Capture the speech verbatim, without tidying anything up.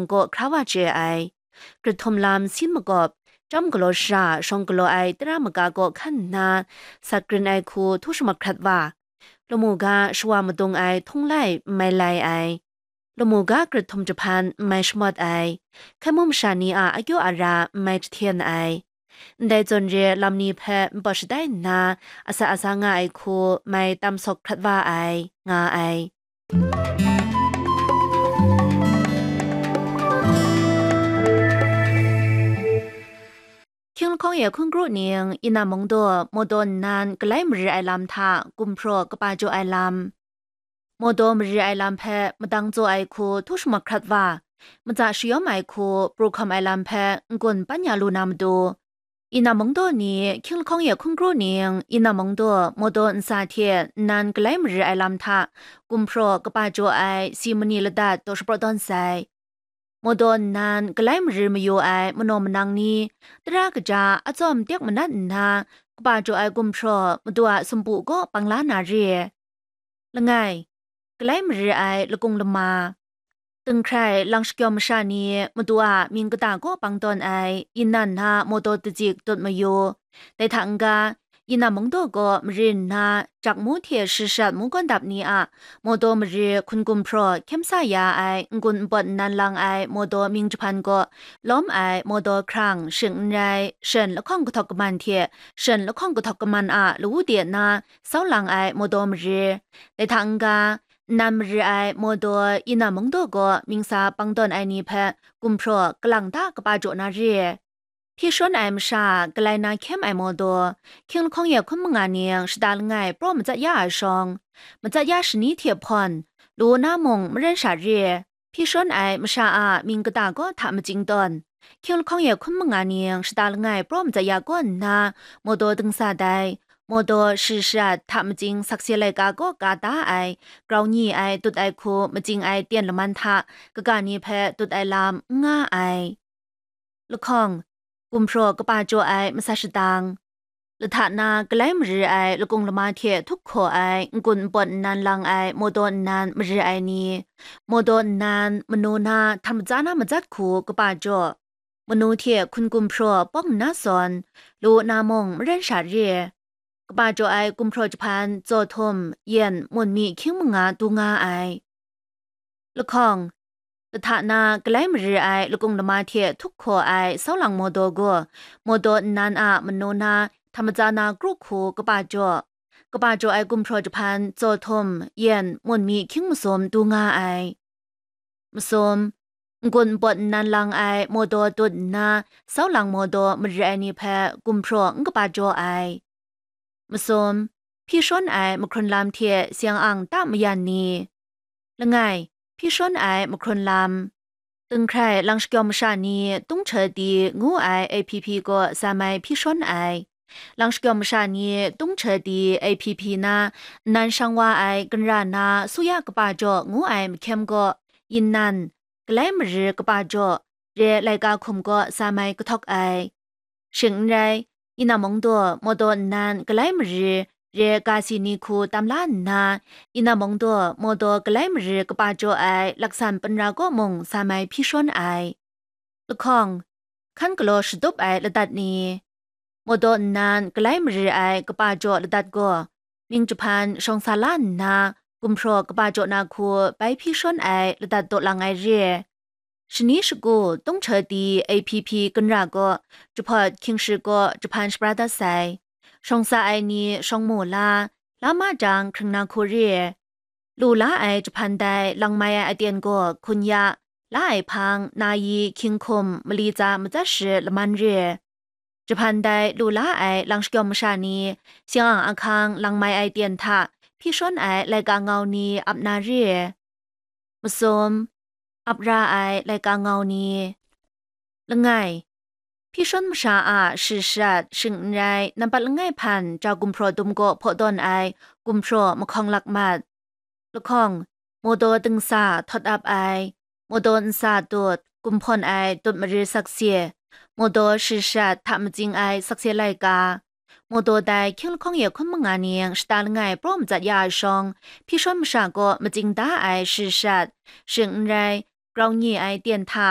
kaw hkra wa chye ai. Grit htum lam sin makawp, chyam galaw shara shawng galaw ai tara maga kaw hkan nna, sat grin ai hku htu shamahkrat wa, lamu ga shawa madung ai htung lai n mai lai ai, lamu ga grit htum jahpan n mai shamawt ai, hkai mu masha ni a akyaw ara n mai jahten ai. Ndai zawn re lam ni hpe npawt shatai nna, asak asa nga ai hku mai tam sawk hkrat wa ai, nga ai. Hkying lahkawng e hkun kru ning, Yinnan Mungdaw, Mawdaw nnan galai marir ai lam hta gumhpraw kaba jaw ai lam. Mawdaw marir ai lam hpe madang tsaw ai hku htu shamahkrat wa, matsa shayawm ai hku pru hkawm ai lam hpe n-gun pan ya lu na matu, Yinnan Mungdaw ni, Hkying lahkawng e hkun kru ning, Yinnan Mungdaw, Mawdaw ntsa hte nnan galai marir ai lam hta gumhpraw kaba jaw ai si mani ladat taw shapraw tawn sai. Mawdaw nnan galai marir mayu ai manaw manang ni, tara kaja atsawm tek manat nna, kaba jaw ai gumhpraw madu a sumpu kaw bang la na re. Langai, galai marir ai lakung lama. Tinghkrai lang shakyawm masha ni madu a mying kata kaw bang tawn ai Yinnan na Mawdaw dazik tut mayu. Dai hta n-ga, Yinnan Mungdaw gaw marin nna, jak mu hte shashat mu gawn dap ni a Mawdaw marir hkun gumhpraw hkyem sa ya ai n-gun npawt nnan lang ai Mawdaw mying jahpan kaw lawm ai Mawdaw hkrang shing n rai, shen lahkawng kahtawk kaman hte shen lahkawng kahtawk kaman a lawu de na sau lang ai Mawdaw marir. Dai hta n-ga, nnan marir ai Mawdaw Yinnan Mungdaw gaw mying sa bang tawn ai ni hpe gumhpraw kalang ta kaba jaw na re. Hpyi shawn ai masha a galai na hkyem ai Mawdaw, Hkying lahkawng e hkun manga ning shada langai praw matsat ya ai shawng, matsat ya shani hte hpawn, lu na mung maren sha re. Hpyi shawn ai masha a mying kata kaw hta machying tawn, Hkying lahkawng e hkun manga ning shada langai praw matsat ya kaw nna, Mawdaw dingsa dai, Mawdaw shashat hta machying sakse laika kaw ka da ai, grau nyi ai tut ai hku machying ai ten laman hta kaga ni hpe tut ai lam n nga ai. Lahkawng, gumhpraw kaba jaw ai matsa shadang. Lahta na galai marir ai lakung lama hte htup hkaw ai n-gun npawt nnan lang ai Mawdaw nnan marir ai ni, Mawdaw nnan manu na htam matsa na matsat hku kaba jaw, manu hte hkun gumhpraw pawng nna sawn, lu na mung maren sha re. Kaba jaw ai gumhpraw jahpan tsaw htum, yen, mun mi hkying manga du nga ai. Lahkawng, lahta na galai marir ai lakung lama hte htup hkaw ai sau lang Mawdaw gaw, Mawdaw nnan a manu na htam matsa na kru hku kaba jaw, kaba jaw ai gumhpraw jahpan tsaw htum, yen, mun mi hkying masum du nga ai. Masum, n-gun npawt nnan lang ai Mawdaw tut nna, sau lang Mawdaw marir ai ni hpe gumhpraw n kaba jaw ai. Masum, hpyi shawn ai mahkrun lam hte seng ang ta mayan ni. Langai, hpyi shawn ai mahkrun lam. Tinghkrai lang shakyawm masha ni Tung Hte Di ngu ai A P P kaw sa mai hpyi shawn ai. Lang shakyawm masha ni Tung Hte Di A P P na nnan shang wa ai ginra na suya kaba jaw ngu ai mahkyem kaw, Yinnan, galai marir kaba jaw, re laika hkum kaw sa mai kahtawk ai. Shing n rai, Yinnan Mungdaw, Mawdaw nnan galai marir, re ga si ni hku tam la nna, Yinnan Mungdaw, Mawdaw galai marir kaba jaw ai laksan panra kaw mung sa mai hpyi shawn ai. Lahkawng, hkan galaw shatup ai ladat ni. Mawdaw nnan galai marir ai kaba jaw ladat gaw, mying jahpan shawng sa la nna, gumhpraw kaba jaw na hku bai hpyi shawn ai ladat daw lang ai re. Shani shagu Tung Hte Di A P P ginra gaw, jahpawt hkying shik kaw jahpan shapra dat sai. Shawng sa ai ni shawng mu la, la ma jang hkring na hku re. Lu la ai jahpan dai lang mai ai aten gaw hkun ya, la ai hpang, na yi, hkying hkum, mali tsa matsat shi laman re. Jahpan dai lu la ai lang shakyawm masha ni, seng ang ahkang lang mai ai ten hta hpyi shawn ai laika ngau ni ap na re. Masum, ap ra ai laika ngau ni. Langai, hpyi shawn masha a shashat, shing n rai, nampat langai hpan ja gumhpraw dum kaw hpaw tawn ai gumhpraw mahkawng lak mat. Lahkawng, Mawdaw dingsa htawt ap ai, Mawdaw ntsa tut, gumhpawn ai tut marir sakse, Mawdaw shashat hta matsing ai sakse laika, Mawdaw dai hkying lahkawng e hkun manga ning shata langai praw matsat ya ai shawng, hpyi shawn masha kaw matsing da ai shashat, shing n rai, grau nye ai ten hta,